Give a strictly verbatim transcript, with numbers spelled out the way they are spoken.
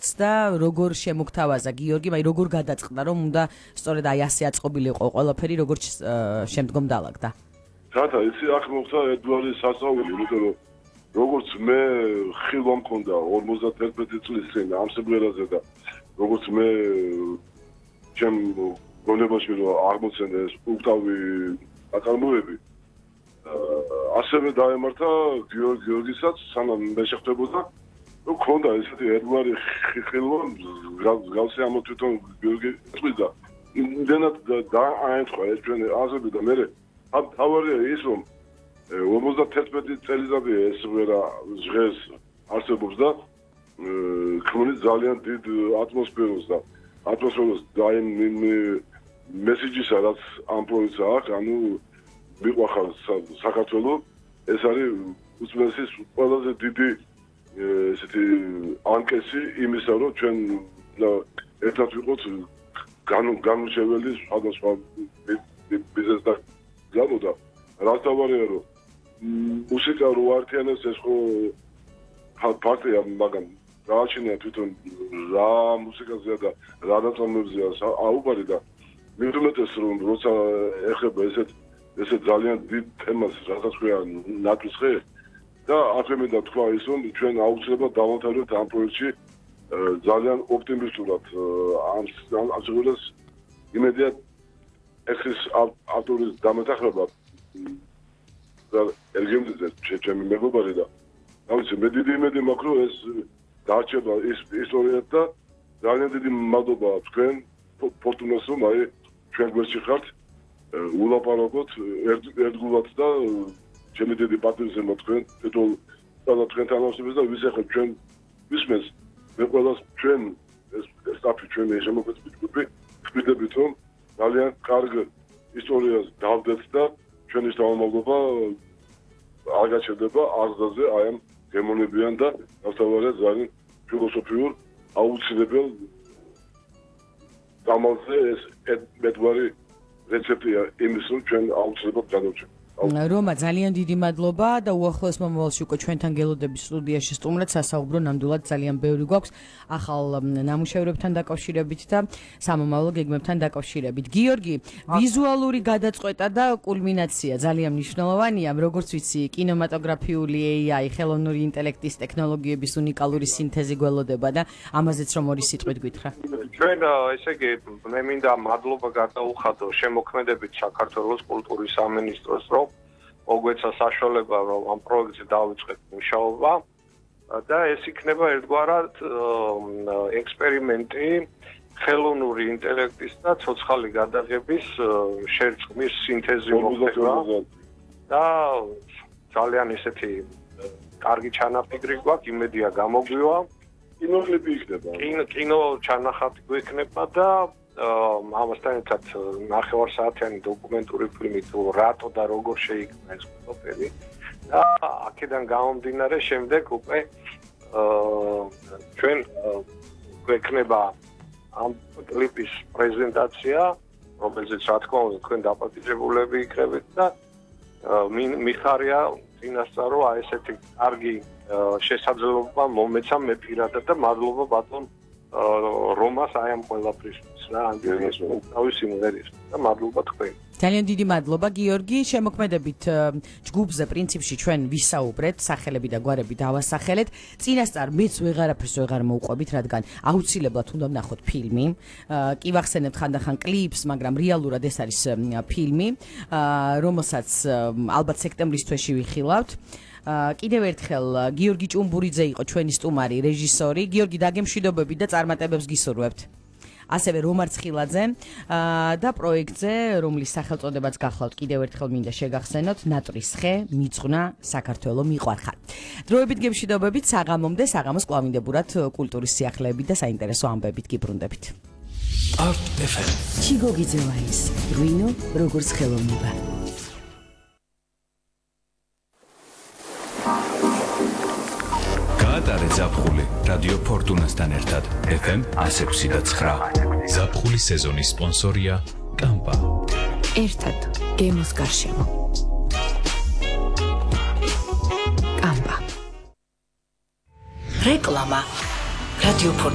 მოგწდა, როგორ შემოგთავაზა გიორგი, მაგრამ როგორ გადაწყდა, რომ უნდა სწორედ აი ასე აწყობილიყო ყველაფერი, როგორც შემდგომ დაალაგდა. თათა, იცი აქ მოხდა ერთგვარი სასწაული, იმიტომ რომ როგორც მე ხილვა მქონდა ორმოცდაერთმეტი წლის წინ ამ სიმღერაზე და როგორც მე ჩემ გონებაში რომ აღმოცენდა ეს უკტავი აკარმოები ასევე დაემართა გიორგი გიორგისაც სანამ მე შეხვდებოდა რომ ქონდა ესეთი ერთგვარი ხილვა გავსე ამ თვითონ გიორგი წვიდა იმდენად დააენთხვა ეს ჩვენი აზრები და მე თავარია ის რომ ორმოცდაერთმეტი წელიწადია ეს ვერა ჟღერს არსებობს და ქმნის ძალიან დიდ ატმოსფეროს და ატმოსფეროს და იმ მესიჯისა რაც ამ პროექტს აქვს ანუ მიყვახარ საქართველოს ეს არის უცნაურის ყველაზე დიდი ესეთი ანკესი იმისა რომ ჩვენ ერთად ვიყოთ განმრჩეველი სხვადასხვა ბიზნესთან გამო და რაც თავარია რომ მუსიკა რო არტიანებს ეს ხო ფაქტია მაგრამ გააჩნია თვითონ რა მუსიკაზეა და რა ნაწარმოებზეა აუბარი და მithumetes რომ როცა ეხება ესეთ ესეთ ძალიან დიდ თემას რასაც ქვია ნატვისხე და აქვე მინდა თქვა ის რომ ჩვენ აუცილებლად დავამთავრებთ ამ პროექტში ძალიან ოპტიმისტურად ამ ამ შემთხვევაში იმედია ეს ავტორის დამეთახრება და ელგემდზე ჩემი მეგობარი და ამის მე დიდი იმედი მაქვს რომ ეს დაარჩება ის ისტორია და ძალიან დიდი მადლობა თქვენ ფორტუნას რომ აი ჩვენ გვერდში ხართ ულაპარაკოთ ერთგულად და ჩემი დიდი პატივისცემა მოთქვენ თვითონ ყველა თქვენთან ავსებს და ვისახებ ჩვენ ვისმენს მე ყველას ჩვენ ეს სტაფი ჩვენი შემოგვეწყვეტ ჯგუფი ვფიქრდებით რომ ძალიან კარგ ისტორიას დავდეთ და ჩვენი შთამომავლობა არ გაჩერდება აღზრდაზე აი ამ გემონებიან და ნახტავარია ძალიან ფილოსოფიურ აუცილებელ დამალზე ეს მეტგვარი რეცეპტია იმის რომ ჩვენ აუცილებლად გადავჭერთ რომა ძალიან დიდი მადლობა და უახლოეს მომავალში უკვე ჩვენთან გელოდების სტუდიაში სტუმრად სასაუბრო ნამდვილად ძალიან ბევრი გვაქვს ახალ ნამუშევრებთან დაკავშირებით და სამომავლო გეგმებთან დაკავშირებით. გიორგი, ვიზუალური გადაწყვეტა და კულმინაცია ძალიან მნიშვნელოვანია, როგორც ვიცი, კინემატოგრაფიული ეი აი, ხელოვნური ინტელექტის ტექნოლოგიების უნიკალური სინთეზი გველოდება და ამაზეც რომ ორი სიტყვით გითხრა. ჩვენ ესე იგი მე მინდა მადლობა გადაუხადო შემოქმედებით საქართველოს კულტურის სამინისტროს რომ მოგვეცა საშუალება რომ ამ პროექტზე დავიწყეთ მუშაობა და ეს იქნება ერთგვარად ექსპერიმენტი ხელოვნური ინტელექტის და ცოცხალი გადაღების შერწყმის სინთეზი მოხდება და ძალიან ესეთი კარგი ჩანაფიქრი გვაქვს იმედია გამოგვივა კინოკლიპი იქნება კინო კინო ჩანახატი გვექნება და ამასთან ერთად ნახევარსაათიანი დოკუმენტური ფილმი თუ რატო და როგორ შეიქმნა ეს ყველაფერი და აქედან გამომდინარე შემდეგ უკვე ჩვენ გვექნება ამ კლიპის პრეზენტაცია რომელზეც რა თქმა უნდა თქვენ დაპატიჟებულები იქნებით და მიხარია წინასწარ რომ აი ესეთი კარგი შესაძლებლობა მომეცა მე პირადად და მადლობა ბატონ რომას აი ამ ყველაფრისთვის რა ანგელოს თავის სიმღერის და მადლობა თქვენ. ძალიან დიდი მადლობა გიორგი, შემოქმედებით ჯგუფზე პრინციპში ჩვენ ვისაუბრეთ, სახელები და გვარები დავასახელეთ. წინასწარ მეც ვეღარაფერს ვეღარ მოვყვებით, რადგან აუცილებლად უნდა ვნახოთ ფილმი. კი ვახსენებთ ხანდახან კლიპს, მაგრამ რეალურად ეს არის ფილმი, რომელსაც ალბათ სექტემბრის თვეში ვიხილავთ. კიდევ ერთხელ გიორგი ჭუმბურიძე იყო ჩვენი სტუმარი, რეჟისორი. გიორგი, დაგემშვიდობებით და წარმატებებს გისურვებთ. ასევე რომარ ცხილაძე და პროექტზე, რომლის სახელწოდებაც გახლავთ კიდევ ერთხელ მინდა შეგახსენოთ, ნატრის ხე, მიძღვნა, საქართველო მიყვარხარ. დროებით გემშვიდობებით, საღამომდე, საღამოს კვლავინდებურად კულტურის სიახლეებით და საინტერესო ამბებით გიბრუნდებით. Art ეფ ემ. ჩიგოგი ძევაის, ღვინო როგორც ხელოვნება. გაატარე ზაფხული რადიო ფორტუნასთან ერთად ეფ ემ one oh six point nine. ზაფხული სეზონის სპონსორია კამპა. ერთად გემოს გარშემო. კამპა. რეკლამა რადიო ფორტუნა